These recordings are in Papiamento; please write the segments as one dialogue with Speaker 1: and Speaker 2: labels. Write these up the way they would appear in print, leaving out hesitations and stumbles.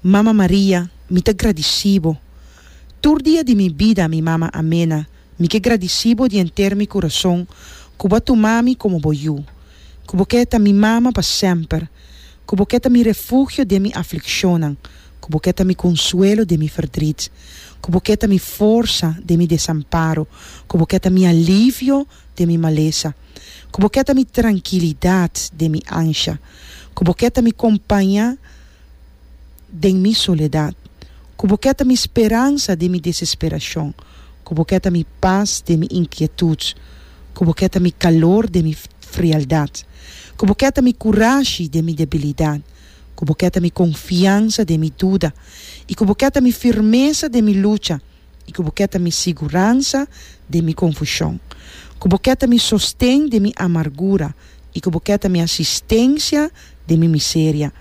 Speaker 1: Mama Maria, mi ta gradisí bo. Tur dia di mi bida, mi mama amena, mi ke gradisí bo di henter mi kurason ku bo a tuma mi komo bo yu, ku bo ke ta mi mama pa semper, ku bo ke ta mi refugio den mi aflikshonnan, ku bo ke ta mi konsuelo den mi ferdrit, ku bo ke ta mi forsa den mi desamparo, ku bo ke ta mi alivio den mi malesa, ku bo ke ta mi trankilidat den mi ansha, ku bo ke ta mi kompaña den mi soledat, ku bo ke ta mi speransa den mi desesperashon, ku bo ke ta mi pas den mi inkietut, ku bo ke ta mi kalor den mi frialdat, ku bo ke ta mi kurashi den mi debilidat, ku bo ke ta mi konfiansa den mi duda, i ku bo ke ta mi firmesa den mi lucha, i ku bo ke ta mi siguransa den mi konfushon, ku bo ke ta mi sosten den mi amargura, i ku bo ke ta mi asistensia den mi miseria,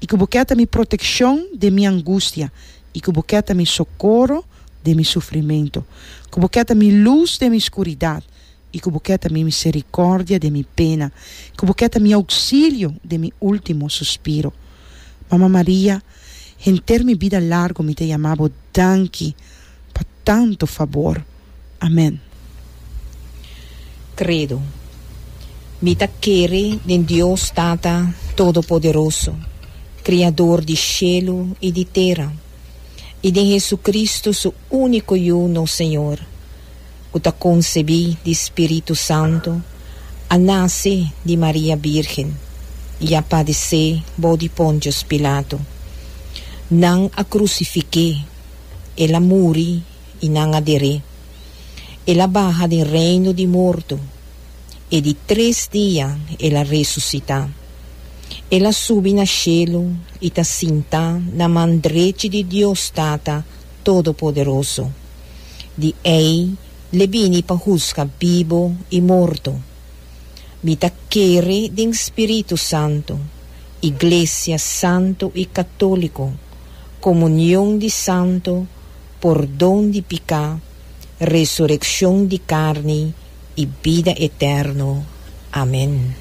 Speaker 1: i ku bo ke ta mi protekshon den mi angustia, i ku bo ke ta mi sokoro den mi sufrimentu, ku bo ke ta mi lus den mi skuridat, i ku bo ke ta mi miserikòrdia den mi pena, ku bo ke ta mi ouksilio den mi último suspiro. Mama Maria, henter mi bida largu mi ta yama bo danki pa tantu fabor. Amen.
Speaker 2: Credo. Mi ta kere den Dios Tata Todopoderoso, Criador di shelu i di tera, i den Jesucristo su único Yu nos Señor, ku ta konsebí di Spiritu Santu, a nase di Maria Bírgen i a padesé bou di Pontius Pilato. Nan a krusifik'é, el a muri i nan a der'é. El a baha den reino di morto, e di tres dia el a resusitá. El a subi na shelu i ta sintá na man drechi di Dios Tata Todopoderoso. Di ei l'e bini pa husga bibo i morto. Mi ta kere den Spiritu Santu, Iglesia Santu i Katóliko, komunion di santu, pordon di piká, resurekshon di karni i bida eterno. Amen.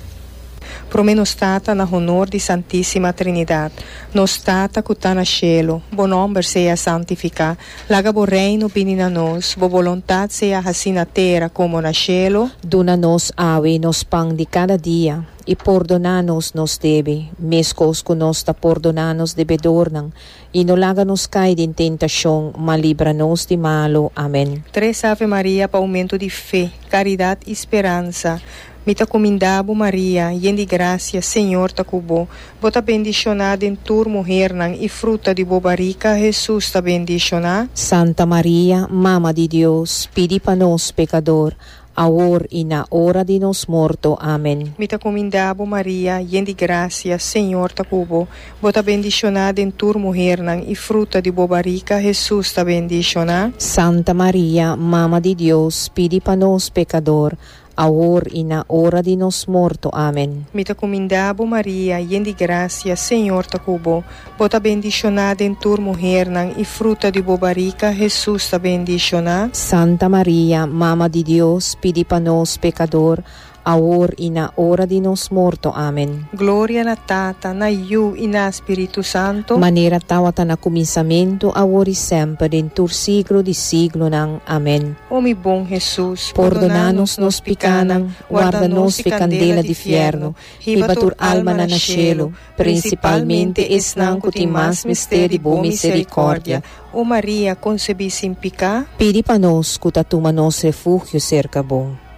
Speaker 3: Prome nos Tata na honor di Santisima Trinidad. Nos Tata cu ta na cielo, bo nomber sea santifica. Laga bo reino bini na nos, bo boluntad sea haci na tera como na cielo.
Speaker 2: Duna nos awe nos pan di cada dia, i pordona nos nos debe, mescos cu nos ta pordona nos debedornan, I no laga nos kai den tentashon, ma libra nos di malu. Amen.
Speaker 3: Tres Ave Maria pa aumento di fe, caridad y speransa. Mi ta cuminda bo Maria, yen di gracia, Señor ta cu bo. Bo ta bendiciona den tur muhernan y fruta di bo barica, Jesus, ta bendiciona.
Speaker 2: Santa Maria, Mama di Dios, pidi pa nos pecador, awor i na ora di nos morto. Amen.
Speaker 3: Mi ta kuminda bo, Maria, yen di grasia, Señor ta ku bo. Bo ta bendishoná den tur muhernan, i fruta di bo barika, Hesus, ta bendishoná.
Speaker 2: Santa Maria, Mama di Dios, pidi pa nos pekador, awor i na ora di nos morto. Amen.
Speaker 3: Mi ta kuminda bo, Maria, yen di grasia, Señor ta ku bo. Bo ta bendishoná den tur muhernan, i fruta di bo barika, Hesus, ta bendishoná.
Speaker 2: Santa Maria, Mama di Dios, pidi pa nos pekador, awor i na ora di nos morto. Amen.
Speaker 3: Gloria na Tata, na Yu i na Spiritu Santo.
Speaker 2: Manera tawata na kuminsamentu, awor i semper, den tur siglo di siglonan. Amen.
Speaker 3: O mi bon Hesus,
Speaker 2: Pordoná nos nos pikánan, warda nos fi kandela di fièrnu, hiba tur almanan na shelu, Prinsipalmente esnan ku tin mas mester di bo miserikòrdia.
Speaker 3: O Maria, konsebí sin piká.
Speaker 2: Pidi pa nos ku ta tuma nos refugio serka bo.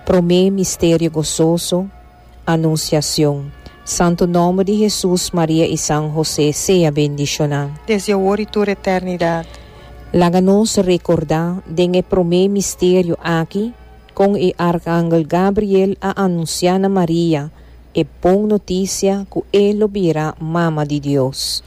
Speaker 2: Promé Misterio Gososo, Anunsiacion. Santu nòmber di Hesus, Maria i San Hosé sea bendishoná.
Speaker 3: Desde awor i tur eternidat.
Speaker 2: Laga nos rekordá den e promé misterio aki kon e Arkangel Gabriel a anunsiá na Maria E bon notisia ku e lo bira Mama di Dios.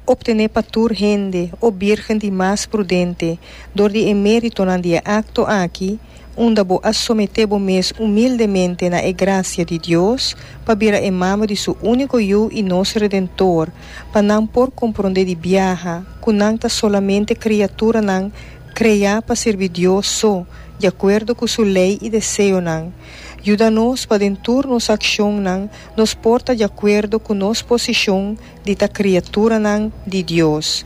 Speaker 3: Obtené pa tur hende, o Birgen di mas prudente, dor di e méritonan di e akto aki, unda bo a someté bo mes humildemente na e grasia di Dios, pa bira e Mama di Su úniko Yu i nos Redentor, pa nan por komprondé di biaha ku nan ta solamente kriaturanan kreá pa sirbi Dios so, di akuerdo ku Su lei i deseonan. Yuda nos pa den tur nos akshonnan nos por ta di akuerdo ku nos posishon di ta kriaturanan di Dios.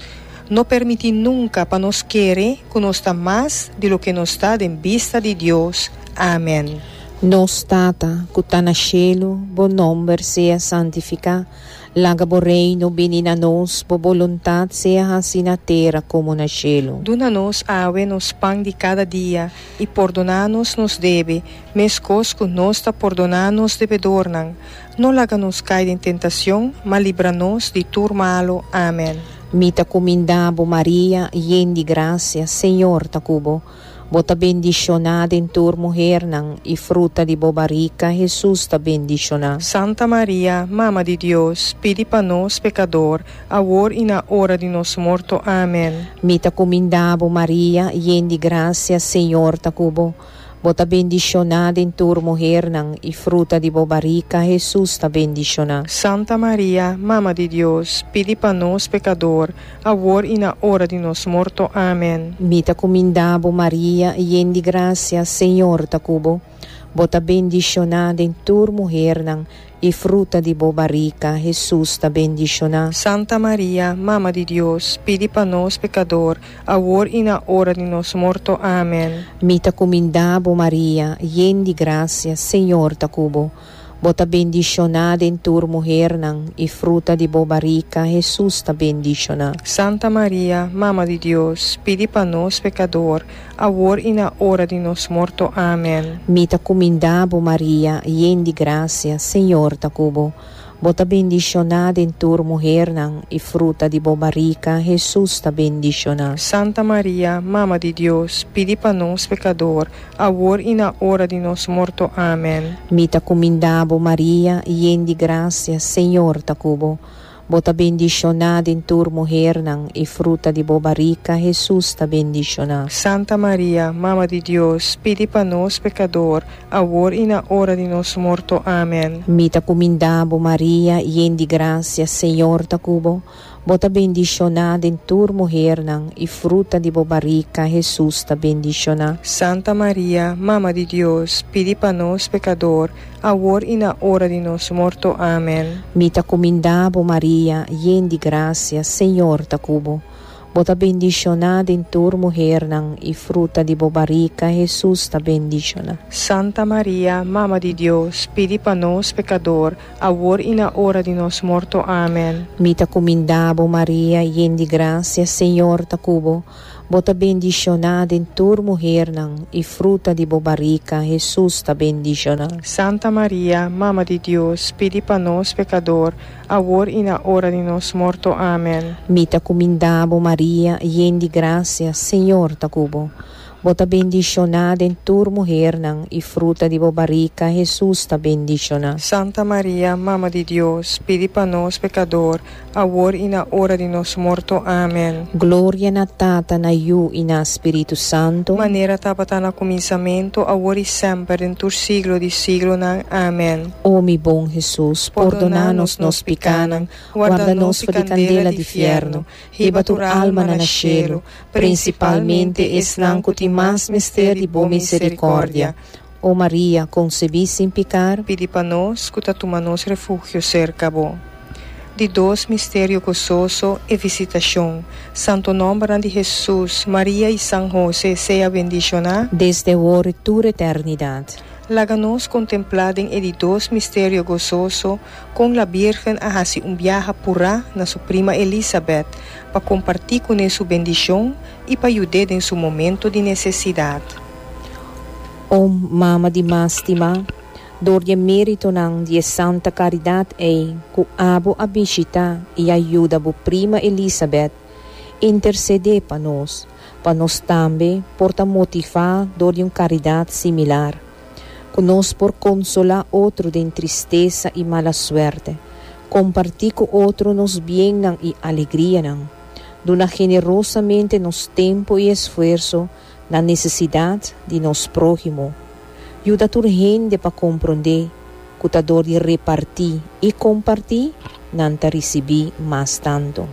Speaker 3: No permití nunka pa nos kere ku nos ta mas di loke nos ta den bista di Dios. Amen.
Speaker 2: Nos Tata, ku ta na shelu, bo nòmber sea santifiká. Laga bo Reino bini na nos, bo boluntat sea hasi na tera komo na shelu.
Speaker 3: Duna nos awe nos pan di kada dia, i pordoná nos nos debe, meskos ku nos ta pordoná nos debedornan. No laga nos kai den tentacion, ma libra nos di tur malo. Amen.
Speaker 2: Mi ta kumindá bo, Maria, yen di grasia, Señor ta ku bo. Bo ta bendishoná den tur muhernan, i fruta di bo barika, Hesus, ta bendishoná.
Speaker 3: Santa Maria, Mama di Dios, pidi pa nos pekador, awor i na ora di nos morto. Amen.
Speaker 2: Mi ta kumindá bo, Maria, yen di grasia, Señor ta ku bo. Bo ta bendishoná den tur muhernan, i fruta di bo barika, Hesus, ta bendishoná.
Speaker 3: Santa Maria, Mama di Dios, pidi pa nos pekador, awor i na ora di nos morto. Amen.
Speaker 2: Mi ta kumindá bo, Maria, yen di grasia, Señor ta ku bo. Bo ta bendishoná den tur muhernan, i fruta di bo barika, Hesus, ta bendishoná.
Speaker 3: Santa Maria, Mama di Dios, pidi pa nos pekador, awor i na ora di nos morto. Amen.
Speaker 2: Mi ta kumindá bo, Maria, yen di grasia, Señor ta ku bo. Bo ta bendishoná den tur muhernan, i fruta di bo barika, Hesus, ta bendishoná.
Speaker 3: Santa Maria, Mama di Dios, pidi pa nos pekador, awor i na ora di nos morto. Amen.
Speaker 2: Mi ta kumindá bo, Maria, yen di grasia, Señor ta ku bo. Bo ta bendishoná den tur muhernan, i fruta di bo barika, Hesus, ta bendishoná.
Speaker 3: Santa Maria, Mama di Dios, pidi pa nos pekador, awor i na ora di nos morto. Amen.
Speaker 2: Mi ta kumindá bo, Maria, yen di grasia, Señor ta ku bo. Bo ta bendishoná den tur muhernan, i fruta di bo barika, Hesus, ta bendishoná.
Speaker 3: Santa Maria, Mama di Dios, pidi pa nos pekador, awor i na ora di nos morto. Amen.
Speaker 2: Mi ta kumindá bo, Maria, yen di grasia, Señor ta ku bo. Bo ta bendishoná den tur muhernan, i fruta di bo barika, Hesus, ta bendishoná.
Speaker 3: Santa Maria, Mama di Dios, pidi pa nos pekador, awor i na ora di nos morto. Amen.
Speaker 2: Mi ta kumindá bo, Maria, yen di grasia, Señor ta ku bo. Bo ta bendishoná den tur muhernan, i fruta di bo barika, Hesus, ta bendishoná.
Speaker 3: Santa Maria, Mama di Dios, pidi pa nos pekador, awor i na ora di nos morto. Amen.
Speaker 2: Mi ta kumindá bo, Maria, yen di grasia, Señor ta ku bo. Bo ta bendishoná den tur muhernan, i fruta di bo barika, Hesus, ta bendishoná.
Speaker 3: Santa Maria, Mama di Dios, pidi pa nos pekador, awor i na ora di nos morto. Amen.
Speaker 2: Mi ta kumindá bo, Maria, yen di grasia, Señor ta ku bo. Bo ta bendishoná den tur muhernan, i fruta di bo barika, Hesus, ta bendishoná.
Speaker 3: Santa Maria, Mama di Dios, pidi pa nos pekador, awor i na ora di nos morto. Amen.
Speaker 2: Gloria na Tata, na Yu i na Spiritu Santu.
Speaker 3: Manera tabata na kuminsamentu, awor i semper, den tur siglo di siglonan. Amen.
Speaker 2: O mi bon Hesus, pordoná nos nos pikánan, warda nos for di kandela di fièrnu, hiba tur almanan na shelu, prinsipalmente esnan ku tin mas mester di bo miserikòrdia. O Maria, konsebí sin pikar.
Speaker 3: Pidi pa nos ku ta tuma nos refugio serka bo. Di dos misterio gososo, e visitashon. Santo nòmbernan di Hesus, Maria i San Hose sea bendishoná.
Speaker 2: Desde awor i tur eternidat.
Speaker 3: Laga nos kontemplá den e di dos misterio gososo kon la Bírgen a hasi un biaha purá na su prima Elisabet pa kompartí kuné su bendishon i pa yud'é den su momento di nesesidat.
Speaker 2: O Mama di mas stimá, dor di e méritonan di e santa karidat ei ku abo a bishitá i a yuda bo prima Elisabet, intersedé pa nos, pa nos tambe por ta motivá dor di un karidat similar, ku nos por konsolá otro den tristesa i mala suerte, kompartí ku otro nos biennan i alegrianan, duna generosamente nos tempu i esfuerso na nesesidat di nos próhimo. Yuda tur hende pa komprondé ku ta dor di repartí i kompartí nan ta risibí mas tantu.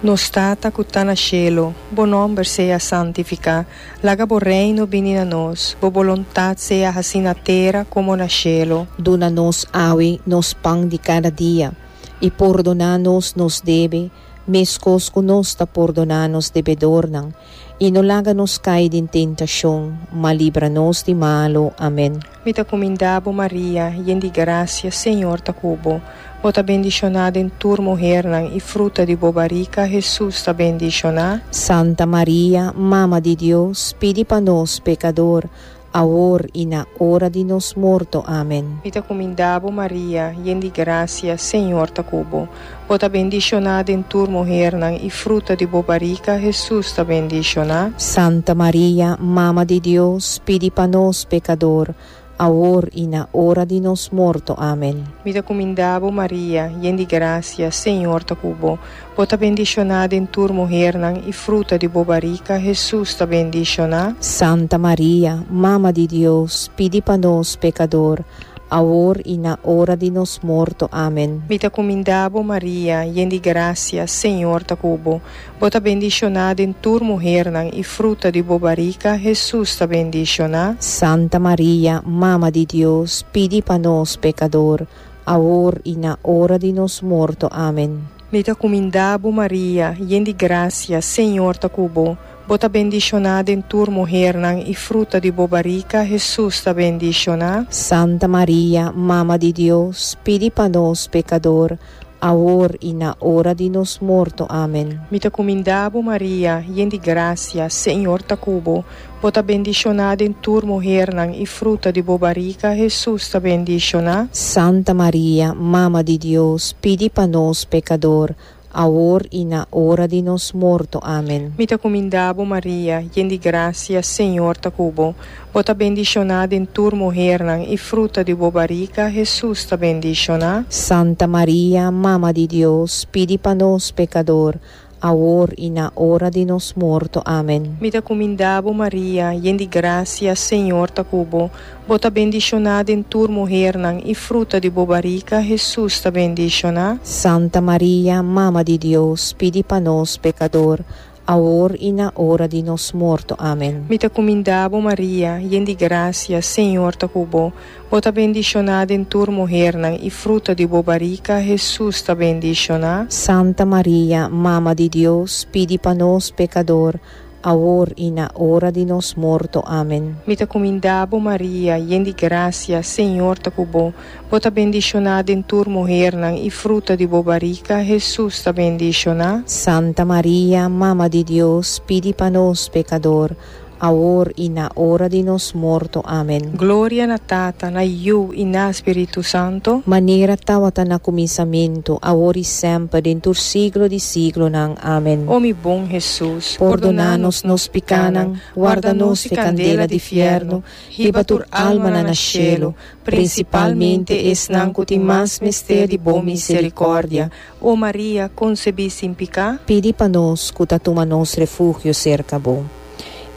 Speaker 3: Nos Tata ku ta na shelu, bo nòmber sea santifiká. Laga bo Reino bini na nos. Bo boluntat sea hasí na tera komo na shelu.
Speaker 2: Duna nos awe nos pan di kada dia, i pordoná nos nos debe, meskos ku nos ta pordoná nos debedornan. I no laga nos kai den tentashon, ma libra nos di malu. Amen.
Speaker 3: Mi ta kumindá bo, Maria, yen di grasia, Señor ta ku bo. Bo ta bendishoná den tur muhernan, i fruta di bo barika, Hesus, ta bendishoná.
Speaker 2: Santa Maria, Mama di Dios, pidi pa nos pekador, awor i na ora di nos morto. Amen.
Speaker 3: Mi ta kumindá bo, Maria, yen di grasia, Señor ta ku bo. Bo ta bendishoná den tur muhernan, i fruta di bo barika, Hesus, ta bendishoná.
Speaker 2: Santa Maria, Mama di Dios, pidi pa nos pekador, awor i na ora di nos morto. Amen.
Speaker 3: Mi ta kumindá bo, Maria, yen di grasia, Señor ta ku bo. Bo ta bendishoná den tur muhernan, i fruta di bo barika, Hesus, ta bendishoná.
Speaker 2: Santa Maria, Mama di Dios, pidi pa nos pekador, awor i na ora di nos morto. Amen.
Speaker 3: Mi ta kumindá bo, Maria, yen di grasia, Señor ta ku bo. Bo ta bendishoná den tur muhernan, i fruta di bo barika, Hesus, ta bendishoná.
Speaker 2: Santa Maria, Mama di Dios, pidi pa nos pekador, awor i na ora di nos morto. Amen.
Speaker 3: Mi ta kumindá bo, Maria, yen di grasia, Señor ta ku bo. Bo ta bendishoná den tur muhernan, i fruta di bo barika, Hesus, ta bendishoná.
Speaker 2: Santa Maria, Mama di Dios, pidi pa nos pekador, awor i na ora di nos morto. Amen.
Speaker 3: Mi ta kumindá bo, Maria, yen di grasia, Señor ta ku bo. Bo ta bendishoná den tur muhernan, i fruta di bo barika, Hesus, ta bendishoná.
Speaker 2: Santa Maria, Mama di Dios, pidi pa nos pekador, awor i na ora di nos morto. Amen.
Speaker 3: Mi ta kumindá bo, Maria, yen di grasia, Señor ta ku bo. Bo ta bendishoná den tur muhernan, i fruta di bo barika, Hesus, ta bendishoná.
Speaker 2: Santa Maria, Mama di Dios, pidi pa nos pekador, awor i na ora di nos morto. Amen.
Speaker 3: Mi ta kumindá bo, Maria, yen di grasia, Señor ta ku bo. Bo ta bendishoná den tur muhernan, i fruta di bo barika, Hesus, ta bendishoná.
Speaker 2: Santa Maria, Mama di Dios, pidi pa nos pekador, awor i na ora di nos morto. Amen.
Speaker 3: Mi ta kumindá bo, Maria, yen di grasia, Señor ta ku bo. Bo ta bendishoná den tur muhernan, i fruta di bo barika, Hesus, ta bendishoná.
Speaker 2: Santa Maria, Mama di Dios, pidi pa nos pekador, awor i na ora di nos morto. Amen.
Speaker 3: Mi ta kumindá bo, Maria, yen di grasia, Señor ta ku bo. Bo ta bendishoná den tur muhernan, i fruta di bo barika, Hesus, ta bendishoná.
Speaker 2: Santa Maria, Mama di Dios, pidi pa nos pekador, awor i na ora di nos morto. Amen.
Speaker 3: Gloria na Tata, na Yu i na Spiritu Santo.
Speaker 2: Manera tawata na kuminsamentu, awor i semper, den tur siglo di siglonan. Amen.
Speaker 3: O mi bon Hesus,
Speaker 2: Pordona nos nos pikánan, warda nos di kandela di fièrnu, hiba tur almanan na shelu, prinsipalmente esnan ku tin mas mester di bo miserikòrdia.
Speaker 3: O Maria, konsebí sin piká.
Speaker 2: Pidi pa nos ku ta tuma nos refugio serka bo.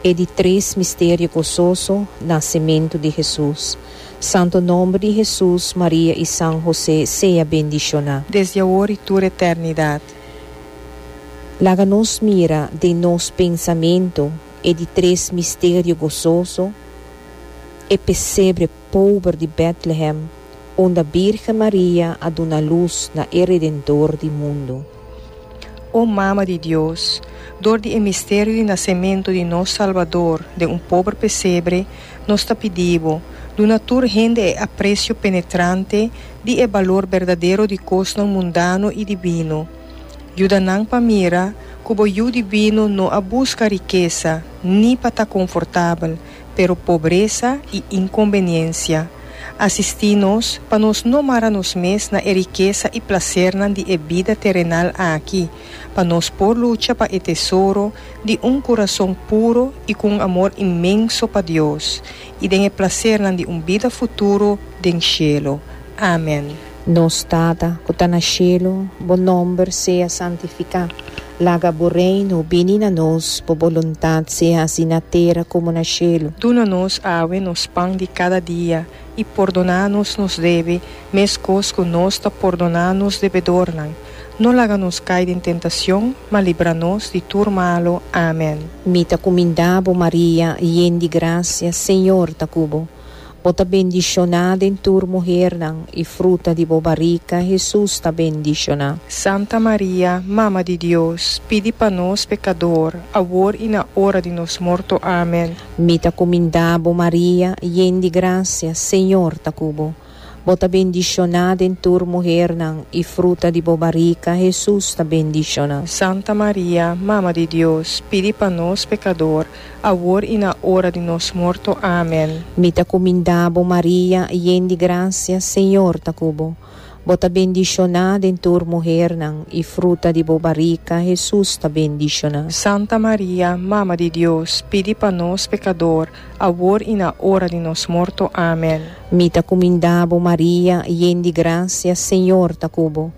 Speaker 2: E di tres misterio gososo, Nasementu di Hesus. Santo nomber di Hesus, Maria i San Hose sea bendishoná.
Speaker 3: Desde awor i tur eternidat.
Speaker 2: Laga nos mira den nos pensamentu e di tres misterio gososo, e pesebre pober di Bètlehem, unda Bírgen Maria a duna lus na e Redentor di mundu.
Speaker 3: O Mama di Dios, dor di e misterio di nasementu di nos Salbador den un pober pesebre, nos ta pidi Bo, duna tur hende e apresio penetrante di e balor berdadero di kosnan mundano i dibino. Yuda nan pa mira ku Bo Yu Dibino no a buska rikesa ni pa ta konfortabel, pero pobresa i inkonbeniensia. Asistí nos pa nos no mara nos mes na e rikesa i plasernan di e bida terenal aki, pa nos por lucha pa e tesoro di un kurason puro i ku un amor inmenso pa Dios, i den e plasernan di un bida futuro den shelu. Amen.
Speaker 2: Nos Tata ku ta na shelu, bo nòmber sea santifiká. Laga bo Reino bini na nos, bo boluntat sea hasi na tera komo na shelu.
Speaker 3: Duna nos awe nos pan di kada dia, i pordoná nos nos debe, meskos ku nos ta pordoná nos debedornan. No laga nos kai den tentacion, ma libra nos di tur malo. Amen.
Speaker 2: Mi ta cuminda bo, Maria, yen di gracia, Señor ta cu bo. Bo ta bendiciona den tur muhernan, y fruta di bo barica, Hesus, ta bendiciona.
Speaker 3: Santa Maria, Mama di Dios, pidi pa nos pecador, awor y na ora di nos morto. Amen.
Speaker 2: Mi ta cuminda bo, Maria, yen di gracia, Señor ta cu bo. Bo ta bendishoná den tur muhernan, i fruta di bo barika, Hesus, ta bendishoná.
Speaker 3: Santa Maria, Mama di Dios, pidi pa nos pekador, awor i na ora di nos morto. Amen.
Speaker 2: Mi ta kumindá bo, Maria, yen di grasia, Señor ta ku bo. Bo ta bendishoná den tur muhernan, i fruta di bo barika, Hesus, ta bendishoná.
Speaker 3: Santa Maria, Mama di Dios, pidi pa nos pekador, awor i na ora di nos morto. Amen.
Speaker 2: Mi ta kumindá bo, Maria, yen di grasia, Señor ta ku bo.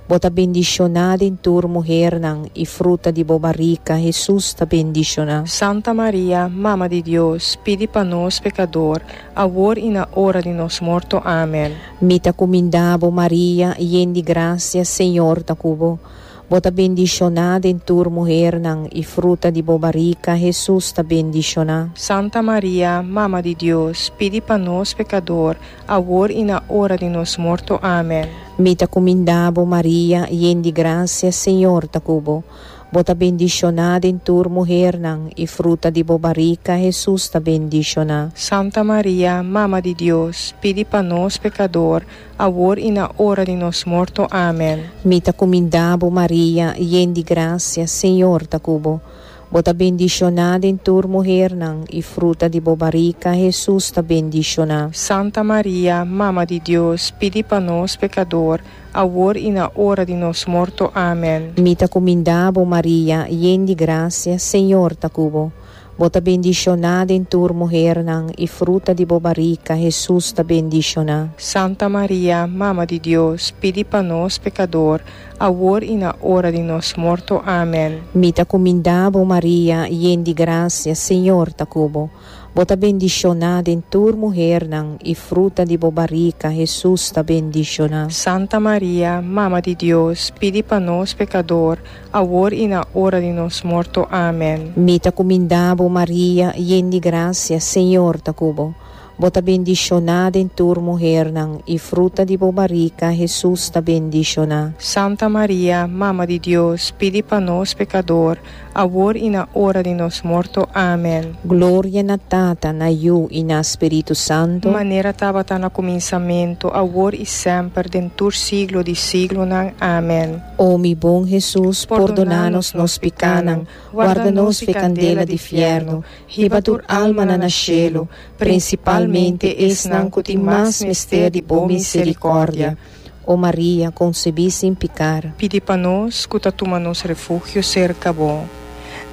Speaker 2: Bo ta bendishoná den tur muhernan, i fruta di bo barika, Hesus, ta bendishoná.
Speaker 3: Santa Maria, Mama di Dios, pidi pa nos pekador, awor i na ora di nos morto. Amen.
Speaker 2: Mi ta kumindá bo, Maria, yen di grasia, Señor ta ku bo. Bo ta bendishoná den tur muhernan, i fruta di bo barika, Hesus, ta bendishoná.
Speaker 3: Santa Maria, Mama di Dios, pidi pa nos pekador, awor i na ora di nos morto. Amen.
Speaker 2: Mi ta kumindá bo, Maria, yen di grasia, Señor ta ku bo. Bo ta bendishoná den tur muhernan, i fruta di bo barika, Hesus, ta bendishoná.
Speaker 3: Santa Maria, Mama di Dios, pidi pa nos pekador, awor i na ora di nos morto. Amen.
Speaker 2: Mi ta kumindá bo, Maria, yen di grasia, Señor ta ku bo. Bo ta bendishoná den tur muhernan, i fruta di bo barika, Hesus, ta bendishoná.
Speaker 3: Santa Maria, Mama di Dios, pidi pa nos pekador, awor i na ora di nos morto. Amen.
Speaker 2: Mi ta kumindá bo, Maria, yen di grasia, Señor ta ku bo. Bo ta bendishoná den tur muhernan, i fruta di bo barika, Hesus, ta bendishoná.
Speaker 3: Santa Maria, Mama di Dios, pidi pa nos pekador, awor i na ora di nos morto. Amen.
Speaker 2: Mi ta kumindá bo, Maria, yen di grasia, Señor ta ku bo. Bo ta bendishoná den tur muhernan, i fruta di bo barika, Hesus, ta bendishoná.
Speaker 3: Santa Maria, Mama di Dios, pidi pa nos pekador, awor i na ora di nos morto. Amen.
Speaker 2: Mi ta kumindá bo, Maria, yen di grasia, Señor ta ku bo. Bo ta bendishoná den tur muhernan, i fruta di bo barika, Hesus, ta bendishoná.
Speaker 3: Santa Maria, Mama di Dios, pidi pa nos pekador, awor i na ora di nos morto. Amen.
Speaker 2: Gloria na Tata, na Yu i na Spiritu Santu.
Speaker 3: Manera tabata na kuminsamentu, awor i semper, den tur siglo di siglonan. Amen.
Speaker 2: O mi bon Hesus, pordona nos nos pikánan, warda nos f'e kandela di fièrnu, hiba tur almanan na shelu, prinsipalmente esnan ku tin mas mester di bo miserikòrdia. O Maria, konsebí sin pikar.
Speaker 3: Pidi pa nos ku ta tuma nos refugio serka bo.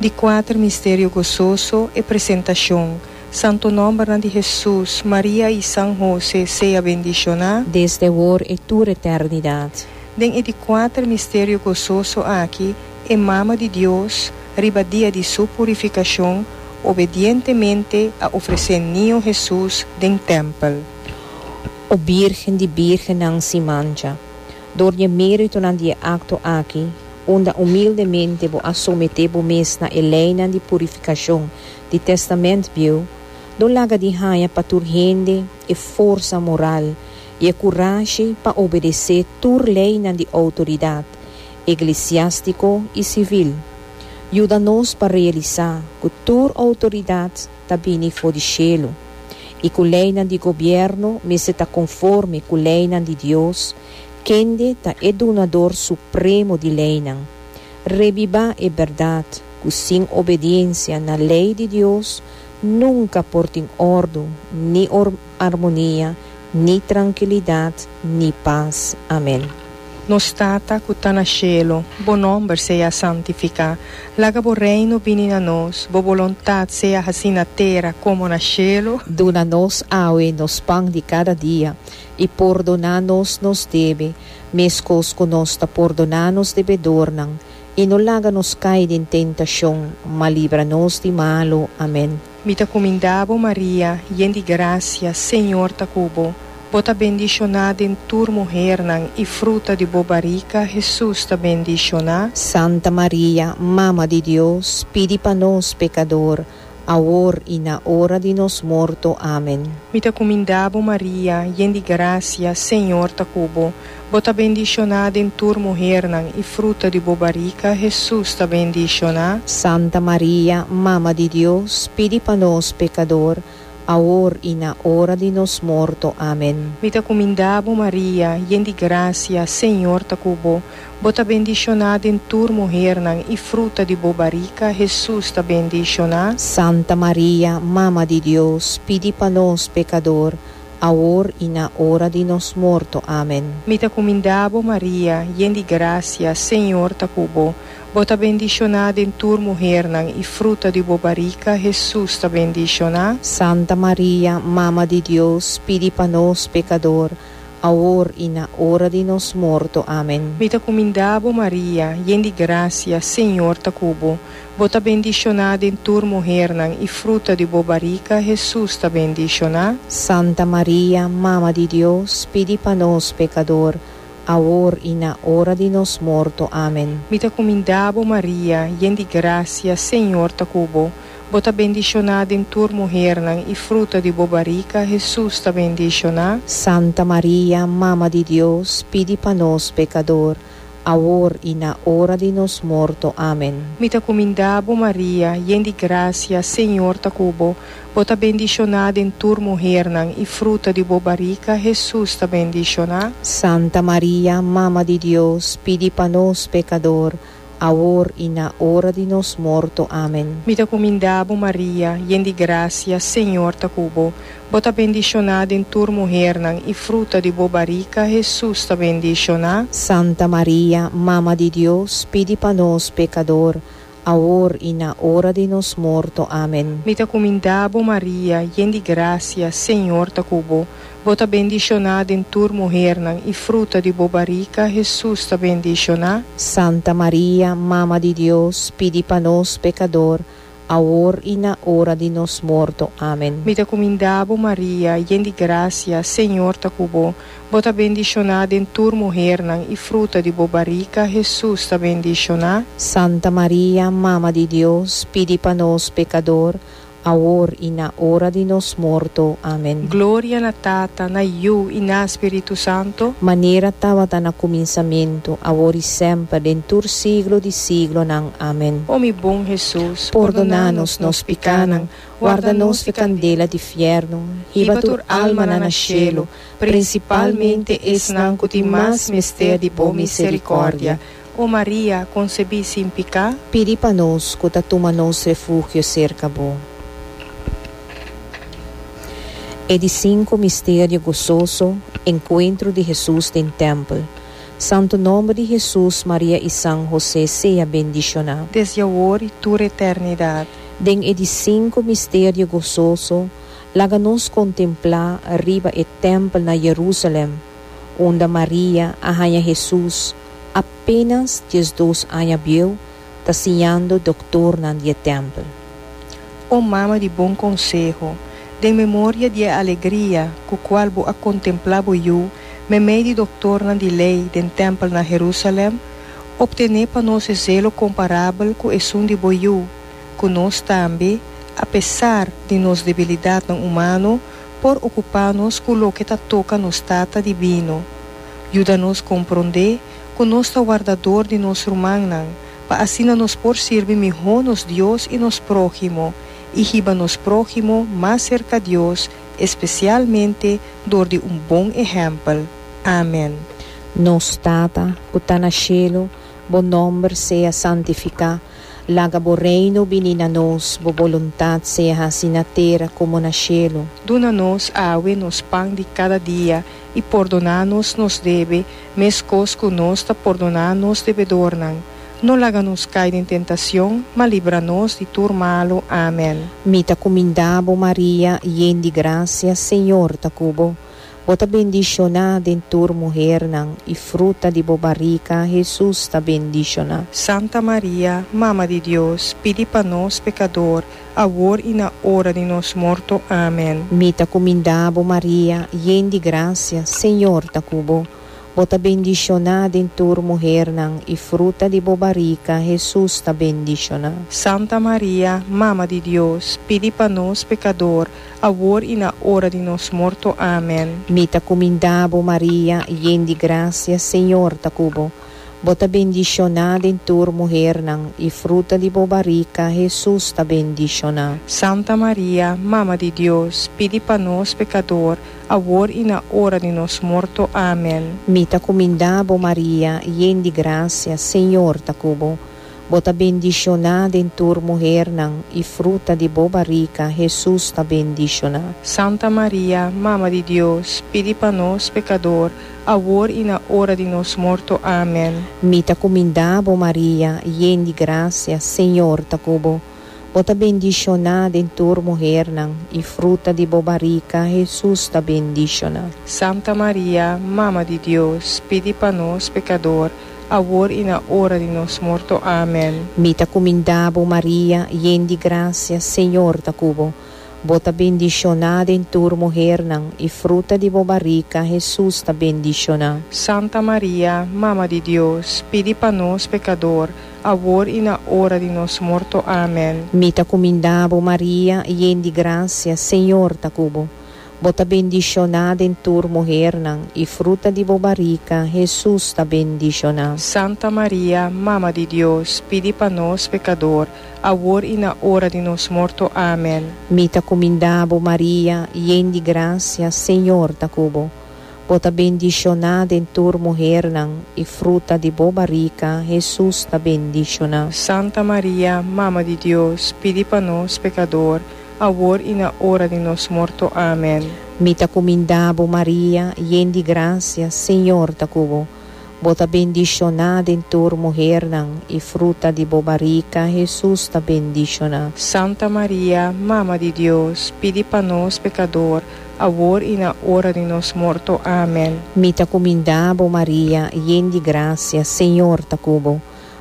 Speaker 3: Di kuater misterio gososo, e presentashon. Santo nòmbernan di Hesus, Maria i San Hose sea bendishoná.
Speaker 2: Desde awor i tur eternidat.
Speaker 3: Den e di kuater misterio gososo aki, e Mama di Dios, riba dia di Su purifikashon, obedientemente a ofresé Niño Hesus den tèmpel.
Speaker 2: O Bírgen di bírgennan sin mancha, dor di e méritonan di e akto aki, unda humildemente bo a someté bo mes na e leinan di purifikashon di Tèstamènt Bieu, lo laga di haña pa tur hende e forsa moral i e kurashi pa obedesé tur leinan di outoridat eglesiástiko i sivil. Yuda nos pa realisá ku tur outoridat ta bini for di shelu i ku leinan di gobièrnu mester ta konforme ku leinan di Dios, kende ta e Dunador Supremo di leinan. Rebibá e bèrdat ku sin obediensia na lei di Dios nunka por tin òrdu ni armonia ni trankilidat, ni pas. Amen.
Speaker 3: Nos Tata ku ta na shelu, bo nòmber sea santifiká. Laga bo Reino bini na nos, bo boluntat sea hasí na tera komo na shelu.
Speaker 2: Duna nos awe nos pan di kada dia, i pordoná nos nos debe, meskos ku nos ta pordoná nos debedornan, i no laga nos kai den tentashon, ma libra nos di malu. Amen.
Speaker 3: Mi ta kumindá bo, Maria, yen di grasia, Señor ta ku bo. Bo ta bendishoná den tur muhernan, i fruta di bo barika, Hesus, ta bendishoná.
Speaker 2: Santa Maria, Mama di Dios, pidi pa nos pekador, awor i na ora di nos morto. Amen.
Speaker 3: Mi ta kumindá bo, Maria, yen di grasia, Señor ta ku bo. Bo ta bendishoná den tur muhernan, i fruta di bo barika, Hesus, ta bendishoná.
Speaker 2: Santa Maria, Mama di Dios, pidi pa nos pekador, awor i na ora di nos morto. Amen.
Speaker 3: Mi ta kumindá bo, Maria, yen di grasia, Señor ta ku bo. Bo ta bendishoná den tur muhernan, i fruta di bo barika, Hesus, ta bendishoná.
Speaker 2: Santa Maria, Mama di Dios, pidi pa nos pekador, awor i na ora di nos morto. Amen.
Speaker 3: Mi ta kumindá bo, Maria, yen di grasia, Señor ta ku bo. Bo ta bendishoná den tur muhernan, i fruta di bo barika, Hesus, ta bendishoná.
Speaker 2: Santa Maria, Mama di Dios, pidi pa nos pekador, awor i na ora di nos morto. Amen.
Speaker 3: Mi ta kumindá bo, Maria, yen di grasia, Señor ta ku bo. Bo ta bendishoná den tur muhernan, i fruta di bo barika, Hesus, ta bendishoná.
Speaker 2: Santa Maria, Mama di Dios, pidi pa nos pekador, awor i na ora di nos morto. Amen.
Speaker 3: Mi ta kumindá bo, Maria, yen di grasia, Señor ta ku bo. Bo ta bendishoná den tur muhernan, i fruta di bo barika, Hesus, ta bendishoná.
Speaker 2: Santa Maria, Mama di Dios, pidi pa nos pekador, awor i na ora di nos morto. Amen.
Speaker 3: Mi ta kumindá bo, Maria, yen di grasia, Señor ta ku bo. Bo ta bendishoná den tur muhernan, i fruta di bo barika, Hesus, ta bendishoná.
Speaker 2: Santa Maria, Mama di Dios, pidi pa nos pekador, awor i na ora di nos morto. Amen.
Speaker 3: Mi ta kumindá bo, Maria, yen di grasia, Señor ta ku bo. Bo ta bendishoná den tur muhernan, i fruta di bo barika, Hesus, ta bendishoná.
Speaker 2: Santa Maria, Mama di Dios, pidi pa nos pekador, awor i na ora di nos morto. Amen.
Speaker 3: Mi ta kumindá bo, Maria, yen di grasia, Señor ta ku bo. Bo ta bendishoná den tur muhernan, i fruta di bo barika, Hesus, ta bendishoná.
Speaker 2: Santa Maria, Mama di Dios, pidi pa nos pekador, awor i na ora di nos morto. Amen.
Speaker 3: Mi ta kumindá bo, Maria, yen di grasia, Señor ta ku bo. Bo ta bendishoná den tur muhernan, i fruta di bo barika, Hesus, ta bendishoná.
Speaker 2: Santa Maria, Mama di Dios, pidi pa nos pekador, awor i na ora di nos morto. Amen.
Speaker 3: Gloria na Tata, na Yu i na Spiritu Santo.
Speaker 2: Manera tabata na kuminsamentu, awor i semper, den tur siglo di siglonan. Amen.
Speaker 3: O mi bon Hesus,
Speaker 2: Pordoná nos nos pikánan, warda nos di kandela di fièrnu, hiba tur almanan na shelu, prinsipalmente esnan ku tin mas mester di bo miserikòrdia.
Speaker 3: O Maria, konsebí sin piká.
Speaker 2: Pidi pa nos ku ta tuma nos refugio serka bo. E di sinku misterio gososo, Enkuentro di Hesus den tèmpel. Santu nòmber di Hesus, Maria i San Hosé sea bendishoná.
Speaker 3: Desde awor i tur eternidat.
Speaker 2: Den e di sinku misterio gososo, laga nos kontemplá riba e tèmpel na Jerusalèm, unda Maria a haña Hesus apénas 12 aña bieu ta siñando doktornan di e tèmpel.
Speaker 3: O Mama di bon konseho, den memoria di e alegria ku kual bo a kontemplá bo Yu meimei di doktornan di lei den tèmpel na Herusalèm, optené pa nos e zelo komparabel ku esun di bo Yu, ku nos tambe, apesar di nos debilidatnan humano, por okupá nos ku loke ta toka nos Tata dibino. Yuda nos komprondé ku nos ta wardador di nos rumannan, pa asina nos por sirbi mihó nos Dios i nos próhimo, i hiba nos próhimo mas serka Dios, espesialmente dor di un bon ehèmpel. Amèn.
Speaker 2: Nos Tata, ku ta na shelu, bo nòmber sea santifiká. Laga bo Reino bini na nos, bo boluntat sea hasi na tera komo na shelu.
Speaker 3: Duna nos awe nos pan di kada dia, i pordoná nos nos debe, meskos ku nos ta pordoná nos debedornan. No laga nos kai den tentacion, ma libra nos di tur malu. Amen.
Speaker 2: Mi ta kumindá bo, Maria, yen di grasia, Señor ta ku bo. Bo ta bendishoná den tur muhernan, i fruta di bo barika, Hesus, ta bendishoná.
Speaker 3: Santa Maria, Mama di Dios, pidi pa nos pekador, awor i na ora di nos morto. Amen.
Speaker 2: Mi ta kumindá bo, Maria, yen di grasia, Señor ta ku bo. Bo ta bendishoná den tur muhernan, i fruta di bo barika, Hesus, ta bendishoná.
Speaker 3: Santa Maria, Mama di Dios, pidi pa nos pekador, awor i na ora di nos morto. Amen.
Speaker 2: Mi ta kumindá bo, Maria, yen di grasia, Señor ta ku bo. Bo ta bendishoná den tur muhernan, i fruta di bo barika, Hesus, ta bendishoná.
Speaker 3: Santa Maria, Mama di Dios, pidi pa nos pekador, awor i na ora di nos morto. Amen.
Speaker 2: Mi ta kumindá bo, Maria, yen di grasia, Señor ta ku bo. Bo ta bendishoná den tur muhernan, i fruta di bo barika, Hesus, ta bendishoná.
Speaker 3: Santa Maria, Mama di Dios, pidi pa nos pekador, awor i na ora di nos morto. Amen.
Speaker 2: Mi ta kumindá bo, Maria, yen di grasia, Señor ta ku bo. Bo ta bendishoná den tur muhernan, i fruta di bo barika, Hesus, ta bendishoná.
Speaker 3: Santa Maria, Mama di Dios, pidi pa nos pekador, awor i na ora di nos morto. Amen.
Speaker 2: Mi ta kumindá bo, Maria, yen di grasia, Señor ta ku bo. Bo ta bendishoná den tur muhernan, i fruta di bo barika, Hesus, ta bendishoná.
Speaker 3: Santa Maria, Mama di Dios, pidi pa nos pekador, awor i na ora di nos morto. Amen.
Speaker 2: Mi ta kumindá bo, Maria, yen di grasia, Señor ta ku bo. Bo ta bendishoná den tur muhernan, i fruta di bo barika, Hesus, ta bendishoná.
Speaker 3: Santa Maria, Mama di Dios, pidi pa nos pekador, awor i na ora di nos morto. Amen.
Speaker 2: Mi ta kumindá bo, Maria, yen di grasia, Señor ta ku bo. Bo ta bendishoná den tur muhernan, i fruta di bo barika, Hesus, ta bendishoná.
Speaker 3: Santa Maria, Mama di Dios, pidi pa nos pekador, awor i na ora di nos morto. Amen.
Speaker 2: Mi ta kumindá bo, Maria, yen di grasia, Señor ta ku bo. Bo ta bendishoná den tur muhernan, i fruta di bo barika, Hesus, ta bendishoná.
Speaker 3: Santa Maria, Mama di Dios, pidi pa nos pekador, awor i na ora di nos morto. Amen.
Speaker 2: Mi ta kumindá bo, Maria, yen di grasia, Señor ta ku bo.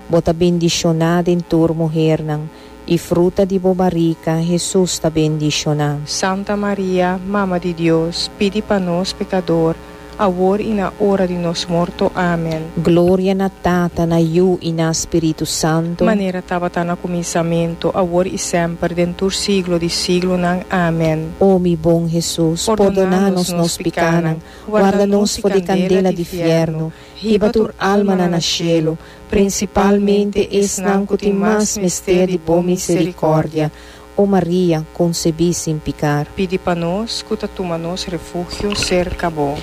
Speaker 2: Bo ta bendishoná den tur muhernan, I fruta di bo barika, Hesus, ta bendishoná.
Speaker 3: Santa Maria, Mama di Dios, pidi pa nos pekador, awor i na ora di nos morto. Amen.
Speaker 2: Gloria na Tata, na Yu i na Spiritu Santu.
Speaker 3: Manera tabata na kuminsamentu, awor i semper, den tur siglo di siglonan. Amen.
Speaker 2: O mi bon Hesus, pordoná nos nos pikánan, warda nos for di kandela di fièrnu, Hiba tur almanan na shelu, prinsipalmente esnan ku tin mas mester di bo miserikòrdia. O Maria, konsebí sin pikar.
Speaker 3: Pidi pa nos ku ta tuma nos refugio serka bo.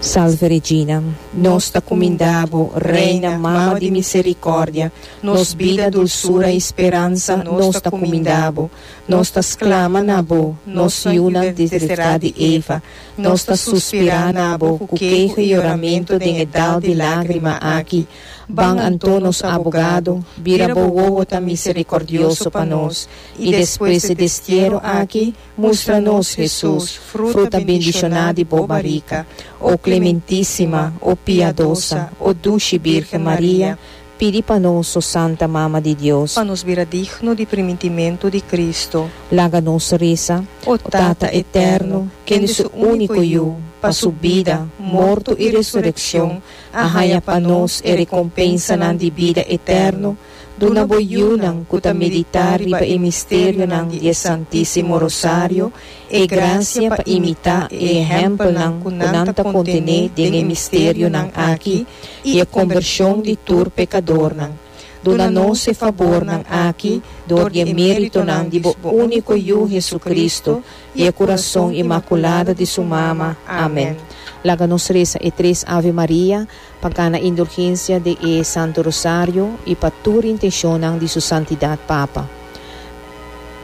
Speaker 2: Salve Regina, nos ta kumindá bo, Reina, Mama di miserikòrdia, nos bida, dulsura i speransa, nos ta kumindá bo. Nos ta sklama na bo, nos yunan deserá di Eva. Nos ta suspirá na bo ku keho i yoramentu den e dal di lágrima aki. Ban anto, nos abogado, bira bo wowo ta miserikòrdioso pa nos, i despues e destiero aki, mustra nos Hesus, fruta bendishoná di bo barika. O Klementísima, o Piadosa, o Dushi Bírgen Maria, Pidi pa nos, o Santa Mama di Dios.
Speaker 3: Pa nos bira digno di primintimentu di Cristo.
Speaker 2: Laga nos resa. O Tata Eterno, kende su úniko Yu, pa su bida, morto i resurekshon, a haña pa nos e rekompensanan di bida eterno, duna bo yunan ku ta meditá riba e misterionan di e Santísimo Rosario e grasia pa imitá e ehèmpelnan ku nan ta kontené den e misterionan aki i e kombershon di tur pekadornan. Duna nos e fabornan aki dor di e méritonan di bo úniko Yu Jesucristo i e Kurason Inmakulado di su Mama. Amen. Laga nos resa e tres Ave Maria pa gana indulgensia di e Santo Rosario i pa tur intenshonnan di Su Santidat Papa.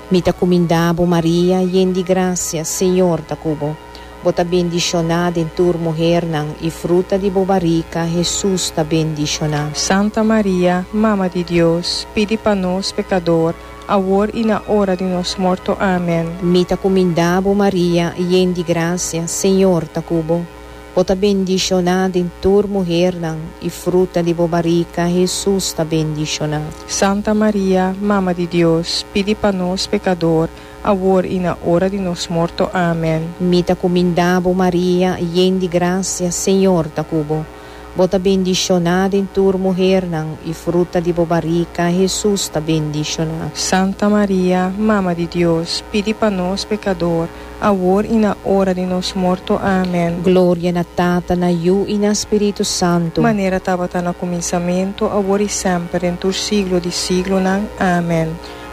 Speaker 2: Mi ta kuminda bo, Maria, yen di grasia, Señor ta ku bo. Bo ta bendishoná den tur muhernan, i fruta di bo barika, Hesus, ta bendishoná.
Speaker 3: Santa Maria, Mama di Dios, pidi pa nos pekador, Awor i na ora di nos morto. Amen.
Speaker 2: Mi ta kuminda bo, Maria, yen di grasia, Señor ta ku bo. Bo ta bendishoná den tur muhernan, i fruta di bo barika, Hesus, ta bendishoná.
Speaker 3: Santa Maria, Mama di Dios, pidi pa nos pekador, awor i na ora di nos morto. Amen.
Speaker 2: Mi ta kuminda bo, Maria, yen di grasia, Señor ta ku bo. Bo ta bendishoná den tur muhernan, i fruta di bo barika, Hesus, ta bendishoná.
Speaker 3: Santa Maria, Mama di Dios, pidi pa nos pekador, awor i na ora di nos morto. Amen.
Speaker 2: Gloria na Tata, na Yu i na Spiritu Santu.
Speaker 3: Manera tabata na kuminsamentu, awor i semper, den tur siglo di siglonan. Amen.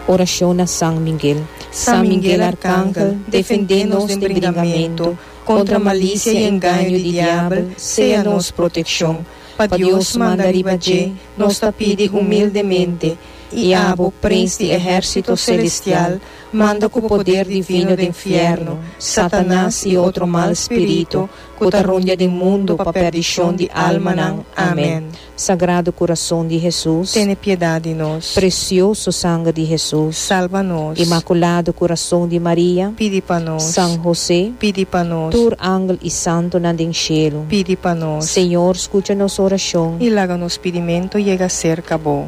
Speaker 2: Orashon na San Miguel. San Miguel Arkangel, defendé nos den bringamentu. Kontra malisia i engaño di diabel, sea nos protekshon.
Speaker 3: Pa Dios manda riba dje, nos ta pidi humildemente, i abo, Prins di ehèrsito selestial, manda ku poder divino den fièrnu, Satanas i otro mal spiritu ku ta rondia den mundu pa pèrdishon di almanan. Amèn.
Speaker 2: Sagrado Kurason di Hesus.
Speaker 3: Tene piedat di nos.
Speaker 2: Presioso Sanger di Hesus.
Speaker 3: Salba nos.
Speaker 2: Imakulado Kurason di Maria.
Speaker 3: Pidi pa nos.
Speaker 2: San Hose.
Speaker 3: Pidi pa nos.
Speaker 2: Tur angel i santonan den shelu.
Speaker 3: Pidi pa nos.
Speaker 2: Señor, skucha nos orashon.
Speaker 3: I laga nos pidimento yega serka Bo.